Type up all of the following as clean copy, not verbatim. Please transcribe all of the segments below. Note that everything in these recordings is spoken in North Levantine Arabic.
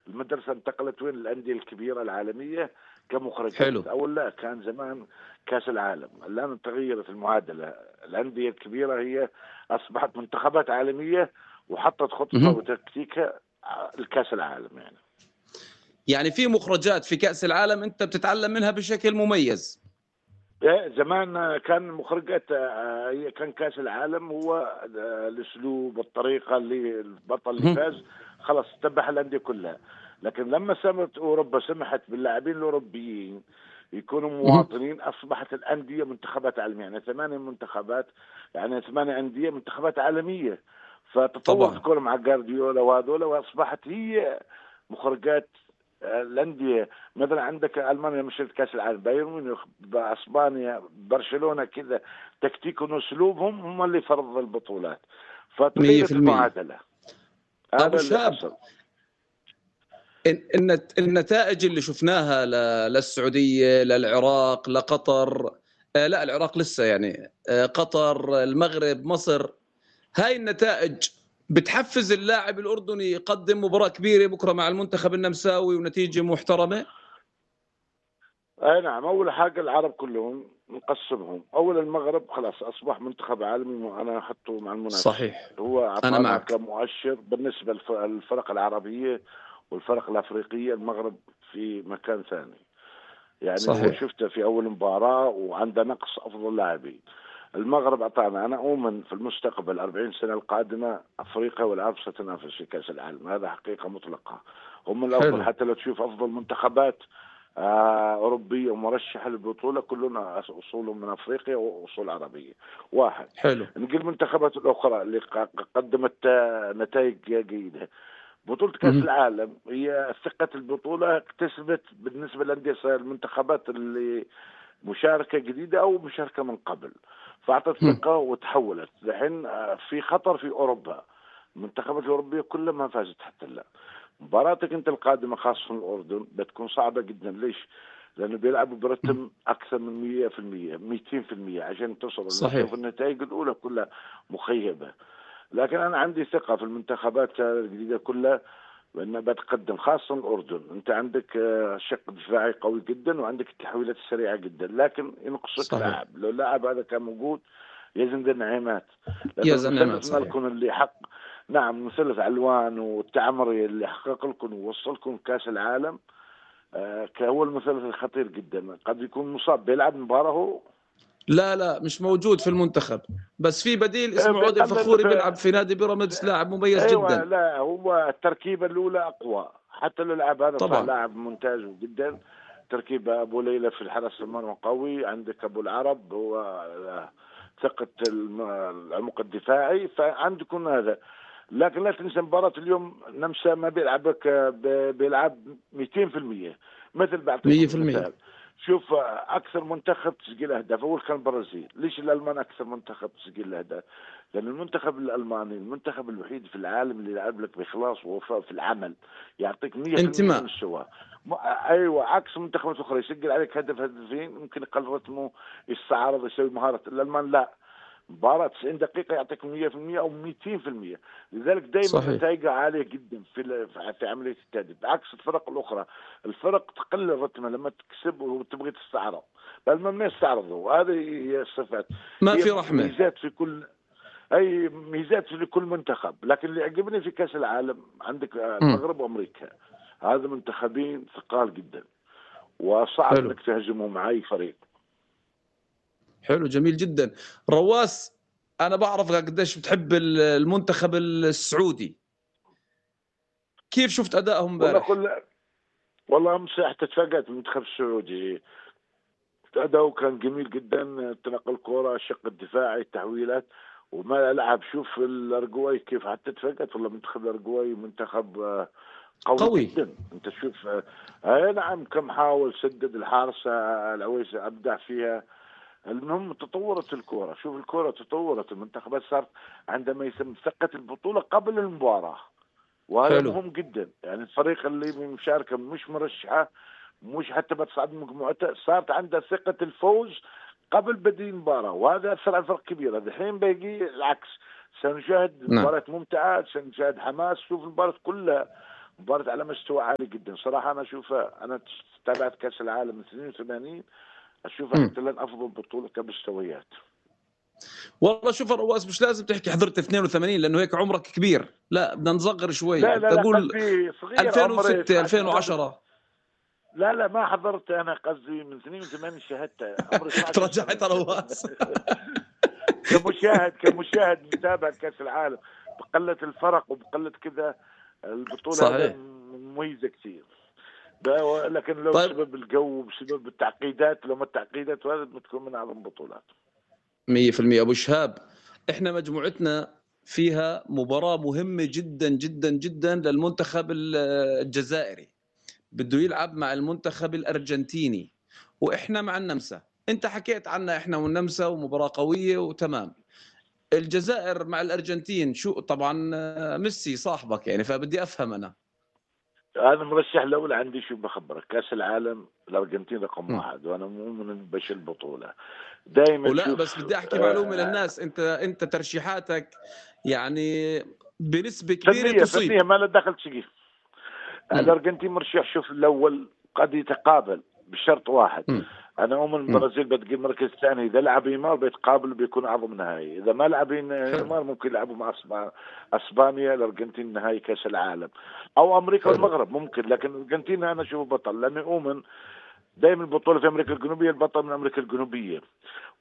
المدرسة انتقلت وين الأندية الكبيرة العالمية حلو. كمخرجات. أول لا، كان زمان كأس العالم. الآن تغيرت المعادلة، الأندية الكبيرة هي أصبحت منتخبات عالمية وحطت خطتها وتكتيكها الكأس العالم. يعني في مخرجات في كأس العالم أنت بتتعلم منها بشكل مميز. زمان كان مخرجات، كان كأس العالم هو الأسلوب، الطريقة اللي البطل اللي فاز خلاص تبع الأندية كلها. لكن لما سمت أوروبا سمحت باللاعبين الأوروبيين يكونوا مواطنين، أصبحت الأندية منتخبات عالمية. يعني 8 منتخبات، يعني 8 أندية منتخبات عالمية. فتطور الكورة مع جارديولا وهذول، وأصبحت هي مخرجات الأندية. مثلا عندك ألمانيا مشيت كأس العالم، بايرن ميونخ، بأسبانيا، برشلونة، كذا تكتيكهم وأسلوبهم هم اللي فرضوا البطولات. فتغيرت المعادلة. أبو شاب، النتائج اللي شفناها للسعودية، للعراق، لقطر، لا العراق لسه يعني، قطر، المغرب، مصر، هاي النتائج بتحفز اللاعب الأردني يقدم مباراة كبيرة بكرة مع المنتخب النمساوي ونتيجة محترمة؟ أي نعم. أول حاجة العرب كلهم نقسمهم. أول المغرب خلاص أصبح منتخب عالمي، وأنا أحطه مع المنافس. صحيح. هو أنا أعطانا معك. كمؤشر بالنسبة للفرق العربية والفرق الأفريقية. المغرب في مكان ثاني. يعني صحيح. هو شفته في أول مباراة وعنده نقص أفضل لاعبين. المغرب أعطانا. أنا أؤمن في المستقبل 40 سنة القادمة أفريقيا والعرب ستنافس في كأس العالم. هذا حقيقة مطلقة. هم الأفضل. حتى لو تشوف أفضل منتخبات أوروبية ومرشحة للبطولة كلنا أصولهم من أفريقيا وأصول عربية. واحد. حلو. نقول المنتخبات الأخرى اللي قدمت نتائج جيدة. بطولة كأس العالم هي ثقة البطولة اكتسبت بالنسبة للأندية المنتخبات اللي مشاركة جديدة أو مشاركة من قبل، فأعطت ثقة وتحولت. الحين في خطر في أوروبا. المنتخبات الأوروبية كلها ما فازت حتى الآن. مباراتك أنت القادمة خاصة الأردن بتكون صعبة جدا. ليش؟ لأنه بيلعبوا برتم أكثر من 100%، 200% عشان تصل. صحيح. النتائج الأولى كلها مخيبة. لكن أنا عندي ثقة في المنتخبات الجديدة كلها وأنها بتقدم، خاصة الأردن. أنت عندك شق دفاعي قوي جدا وعندك التحويلات السريعة جدا، لكن ينقصك لاعب. لو اللاعب هذا كان موجود يزن النعيمات. المثلث مالكم اللي حق، نعم، مثلث علوان والتعمري اللي حقق لكم ووصلكم كأس العالم، هو المثلث الخطير جدا. قد يكون مصاب بيلعب مباراة هو، لا مش موجود في المنتخب، بس في بديل اسمه عودة الفخوري بيلعب في نادي بيراميدز، لاعب مميز جدا. لا هو التركيبة الأولى أقوى. حتى لو اللاعب هذا صح لاعب ممتاز جدا. تركيبة أبو ليلى في الحرس المرمى قوي، عندك أبو العرب هو ثقة العمق الدفاعي، فعندكم هذا. لكن لا تنسى مباراة اليوم نمسا ما بيلعب 200%. مثل بعطيك مثال، شوف أكثر منتخب تسجيل أهداف أول كان البرازيل. ليش الألمان أكثر منتخب تسجيل أهداف؟ لأن المنتخب الألماني المنتخب الوحيد في العالم اللي يلعب لك بإخلاص ووفاء في العمل، يعطيك 100% من السواء. أيوة، عكس منتخبات أخرى يسجل عليك هدف هدفين ممكن يقل رتمه، يستعرض، يسوي مهارة. الألمان لا، مباراة 90 دقيقة يعطيك 100% أو 200%. لذلك دائما نتائجها عالية جدا في عملية التهديف، بعكس الفرق الأخرى. الفرق تقلل رتمها لما تكسب وتبغي تستعرض، بل ما يستعرضوا. وهذه هي الصفات، ما في رحمة. ميزات في كل ميزات في كل منتخب. لكن اللي عجبني في كأس العالم عندك المغرب وأمريكا، هذا منتخبين ثقال جدا وصعب انك تهزمهم مع أي فريق. حلو، جميل جدا. رواس، أنا بعرف قديش بتحب المنتخب السعودي، كيف شفت أدائهم امبارح؟ والله أمس حتى تفاجأت المنتخب السعودي، أداؤه كان جميل جدا. تنقل الكرة، الشق الدفاعي، التحويلات، وما لعب. شوف الأرجواي كيف، حتى تفاجأت والله. منتخب الأرجواي منتخب قوي جدا. انت شوف نعم، كم حاول، سدد الحارس العويس أبدع فيها. المهم تطورت الكرة. شوف الكرة تطورت. المنتخبات صارت عندما يسمى ثقة البطولة قبل المباراة، وهذا مهم جدا. يعني الفريق اللي مشاركة مش مرشحة، مش حتى بتصعد مجموعتها، صارت عندها ثقة الفوز قبل بدء المباراة، وهذا أثر على الفرق كبيرة. الحين بيجي العكس، سنشاهد مباراة ممتعة، سنشاهد حماس. شوف المباراة كلها مباراة على مستوى عالي جدا صراحة. أنا أشوفها، أنا تابعت كأس العالم من 82، أشوفها حتى الآن أفضل بطولة كمستويات. والله شوف رواس، مش لازم تحكي حضرت 82 لانه هيك عمرك كبير، لا بدنا نصغر شوي. لا لا لا، تقول قصدي صغير عمري 2006 2010. لا لا ما حضرت، أنا قصدي من 82 شاهدتها عمري 12 ترجعت سنة. رواس. كمشاهد متابع كأس العالم، بقلة الفرق وبقلة كذا البطولة هذا صحيح. مميزة كثير. لكن لو طيب بسبب الجو وبسبب التعقيدات، لو ما التعقيدات وهذا بتكون من أعظم البطولات. 100% ابو شهاب، احنا مجموعتنا فيها مباراة مهمة جدا جدا جدا للمنتخب الجزائري، بده يلعب مع المنتخب الارجنتيني واحنا مع النمسا. انت حكيت عنا احنا والنمسا ومباراة قوية وتمام. الجزائر مع الارجنتين شو طبعا ميسي صاحبك يعني، فبدي افهم انا. أنا مرشح الأول عندي، شو بخبرك، كأس العالم الأرجنتين رقم 1 وأنا مو من بش البطولة دائما. ولا شوف بس بدي احكي معلومة للناس، انت ترشيحاتك يعني بنسبة كبيرة تصيب. فنية ما له دخل شيء. الأرجنتين مرشح. شوف الأول قد يتقابل بشرط واحد، أنا أؤمن البرازيل بتجي المركز الثاني، إذا لعب نيمار بيتقابل بيكون أعظم نهائي، إذا ما لعب نيمار ممكن يلعبوا مع أسبانيا الأرجنتين نهائي كأس العالم، أو أمريكا والمغرب ممكن. لكن الأرجنتين أنا أشوفه بطل، لأني أؤمن دائما البطولة في أمريكا الجنوبية، البطل من أمريكا الجنوبية،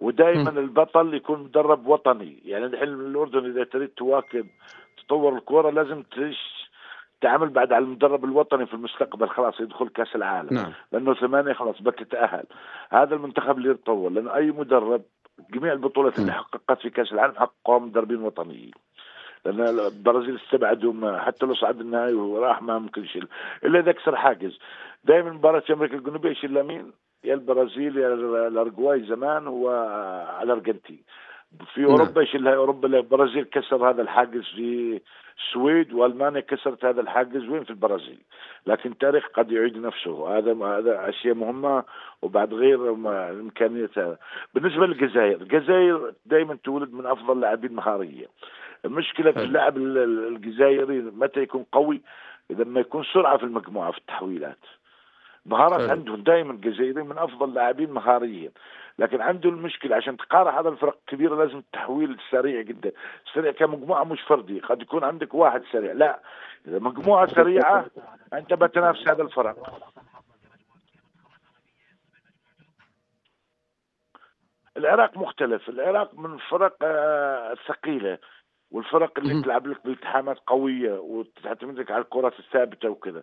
ودائما البطل يكون مدرب وطني. يعني الحين الأردن إذا تريد تواكب تطور الكرة لازم تعمل بعد على المدرب الوطني في المستقبل، خلاص يدخل كأس العالم. نعم. لأنه 8 خلاص بتتأهل، هذا المنتخب اللي يتطور. لأنه أي مدرب جميع البطولات اللي حققت في كأس العالم حققوها مدربين وطنيين، لأن البرازيل استبعدوا حتى لو صعد النهائي وراح ما ممكن يشيل إلا إذا كسر حاجز. دائما مباراة أمريكا الجنوبية يشيل مين؟ يا البرازيل يا الأرجواي زمان وعلى الأرجنتين. في أوروبا يشيلها أوروبا، البرازيل كسر هذا الحاجز في السويد، وألمانيا كسرت هذا الحاجز وين في البرازيل. لكن التاريخ قد يعيد نفسه، هذا أشياء مهمة وبعد غير إمكانيتها. بالنسبة للجزائر، الجزائر دائما تولد من أفضل لاعبين مهارية. المشكلة في اللاعب الجزائري متى يكون قوي؟ إذا ما يكون سرعة في المجموعة في التحويلات. مهارات عندهم دائما الجزائريين من أفضل لاعبين مهاريا، لكن عنده المشكلة عشان تقارع هذا الفرق الكبيرة لازم التحويل سريع جدا. سريع كمجموعة مش فردي، قد يكون عندك واحد سريع، لا إذا مجموعة سريعة أنت بتنافس هذا الفرق. العراق مختلف، العراق من الفرق الثقيلة، والفرق اللي تلعب لك بالتحامات قوية وتعتمد لك على الكرات الثابتة وكذا.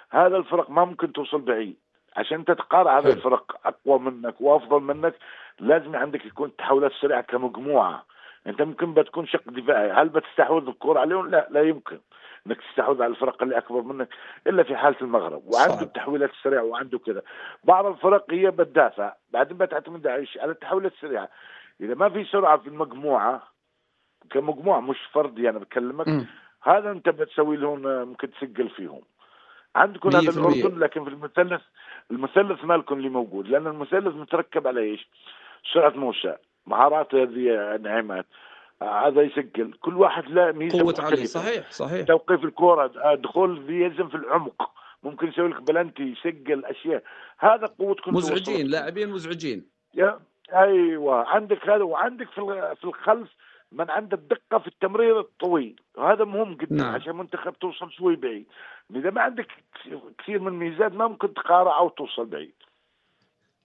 هذا الفرق ما ممكن توصل بعيد. عشان تتقارع هذا الفرق أقوى منك وأفضل منك لازم عندك يكون تحولات سريعة كمجموعة. أنت ممكن بتكون شق دفاعي، هل بتستحوذ الكرة عليهم؟ لا يمكن انك تستحوذ على الفرق اللي اكبر منك الا في حاله المغرب، وعنده التحويلات السريعه وعنده كذا. بعض الفرق هي بتدافع بعدين بتعتمد على التحويلات السريعه. اذا ما في سرعه في المجموعه كمجموعه مش فردي انا يعني بكلمك، هذا انت بتسوي لهم ممكن تسجل فيهم. عندكم هذا الاردن، لكن في المثلث مالكم اللي موجود، لان المثلث متركب على ايش؟ سرعه موسى، مهارات هذه نعمات، هذا يسجل، كل واحد له ميزه مختلفه. صحيح. توقيف الكره، دخول يلزم في العمق، ممكن يسوي لك بلنتي، يسجل اشياء. هذا قوتكم، مزعجين، لاعبين مزعجين. ايوه عندك هذا، وعندك في الخلف من عنده الدقه في التمرير الطويل، وهذا مهم جدا. نعم. عشان منتخب توصل شوي بعيد. اذا ما عندك كثير من الميزات ما ممكن تقارع او توصل بعيد.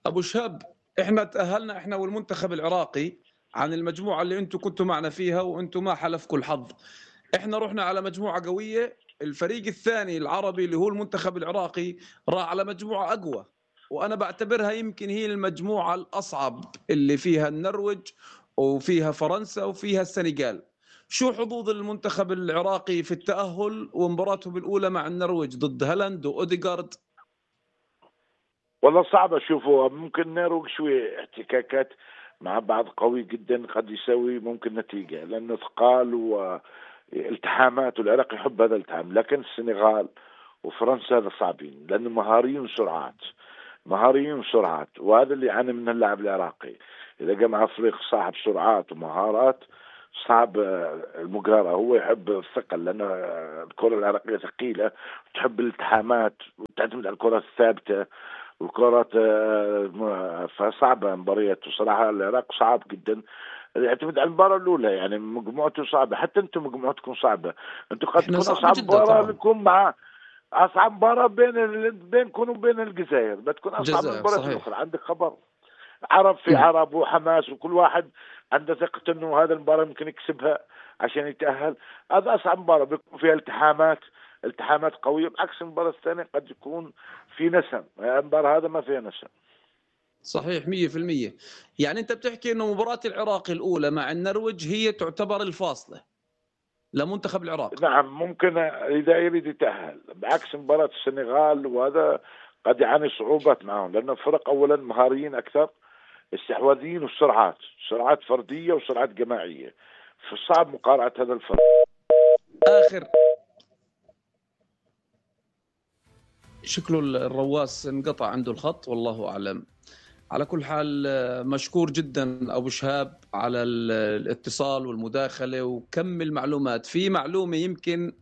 ابو شهاب، احنا تاهلنا احنا والمنتخب العراقي عن المجموعه اللي انتم كنتوا معنا فيها، وانتم ما حلفكم الحظ. احنا رحنا على مجموعه قويه، الفريق الثاني العربي اللي هو المنتخب العراقي راح على مجموعه اقوى، وانا بعتبرها يمكن هي المجموعه الاصعب اللي فيها النرويج وفيها فرنسا وفيها السنغال. شو حظوظ المنتخب العراقي في التأهل ومباراتهم الأولى مع النرويج ضد هالاند وأوديغارد؟ والله صعب أشوفه. ممكن النرويج شوي احتكاكات مع بعض قوي جدا قد يسوي ممكن نتيجة، لأنه ثقال والتحامات والعراق يحب هذا الالتحام. لكن السنغال وفرنسا هذا صعبين لأنه مهاريين سرعات، وهذا اللي يعاني منه اللاعب العراقي. إذا جاء مع فريق صاحب سرعات ومهارات صعب المقارنة. هو يحب الثقل لأن الكرة العراقية ثقيلة، تحب الالتحامات وتعتمد على الكرة الثابتة والكرات، فصعبة مبارياته صراحة. العراق صعب جدا، يعتمد على المباراة الأولى. يعني مجموعته صعبة، حتى أنتم مجموعتكم صعبة. أنتم قد تكون أصعب مباراة لكم مع أصعب مباراة بينكم وبين الجزائر، بتكون أصعب من المباريات الأخرى. عندك خبر عرب في عرب وحماس، وكل واحد عنده ثقة إنه هذا المباراة ممكن يكسبها عشان يتأهل. هذا أصعب مباراة بيكون فيها التحامات قوية، بعكس المباراة الثانية قد يكون في نسم. المباراة هذا ما فيها نسم. صحيح 100%. يعني أنت بتحكي إنه مباراة العراق الأولى مع النرويج هي تعتبر الفاصلة لمنتخب العراق. نعم، ممكن إذا يريد يتأهل، بعكس مباراة السنغال، وهذا قد يعاني صعوبات معهم لأن الفرق أولا مهاريين أكثر، استحواذيين، سرعات فردية وسرعات جماعية، فصعب مقارعة هذا الفرق. آخر شكله الرواس انقطع عنده الخط والله أعلم. على كل حال مشكور جدا أبو شهاب على الاتصال والمداخلة وكم المعلومات. في معلومة يمكن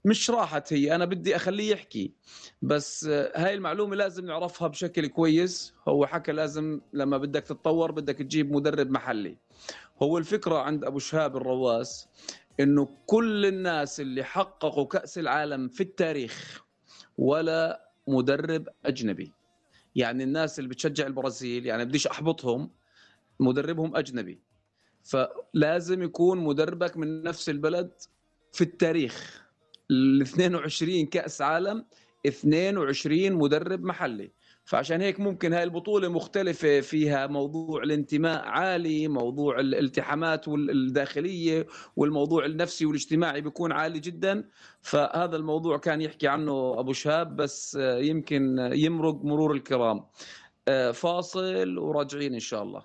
مش راحت هي، أنا بدي أخليه يحكي، بس هاي المعلومة لازم نعرفها بشكل كويس. هو حكى لازم لما بدك تتطور بدك تجيب مدرب محلي. هو الفكرة عند أبو شهاب الرواس إنه كل الناس اللي حققوا كأس العالم في التاريخ ولا مدرب أجنبي. يعني الناس اللي بتشجع البرازيل، يعني بديش أحبطهم، مدربهم أجنبي، فلازم يكون مدربك من نفس البلد. في التاريخ 22 كأس عالم 22 مدرب محلي. فعشان هيك ممكن هاي البطولة مختلفة، فيها موضوع الانتماء عالي، موضوع الالتحامات الداخلية والموضوع النفسي والاجتماعي بيكون عالي جدا. فهذا الموضوع كان يحكي عنه أبو شهاب، بس يمكن يمرق مرور الكرام. فاصل وراجعين إن شاء الله.